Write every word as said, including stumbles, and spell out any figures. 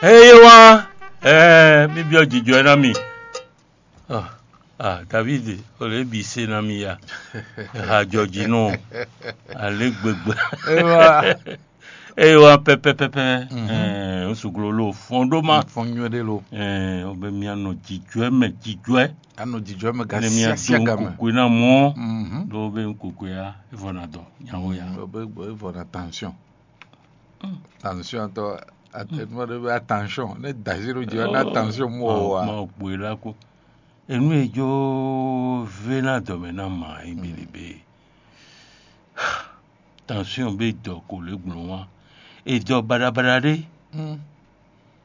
Eye wá, ɛɛ, mi byɔ́ jijɔ ɛ ná mi. Ah, ah, David, o lě bǐ se ná mi ya. Ha jɔ jí nɔ, alě gbegbe. Eye wá. Eye wá pɛpɛpɛpɛ, ɛɛ, o suglo lo fɔn ɖó ma. Fɔn nyuɛ ɖé lo. Ɛɛ, o bɛ mi anɔ jijɔ ɛ mɛ, jijɔ ɛ. Anɔ jijɔ ɛ mɛ ga Ne mi siasia aɖo ga mɛ. Kukue ná mɔ. Mhm. Ɖo bɛ kukue ya, evɔ na dɔ, nyawo ya. Mm, o bɛ, o bɛ evɔ na tension. Tension tɔ, atɛnumɔ ɖé bɛ attention. Ne dazi ɖo jijɔ ná tension mɔ o wa. Ma gbé la ko. Enu e jó vé ná dɔmɛ ná ma yi bébé. Tension bɛ dɔ ko lě gblɔn wá. E dɔ baɖabaɖa ɖé. Mm.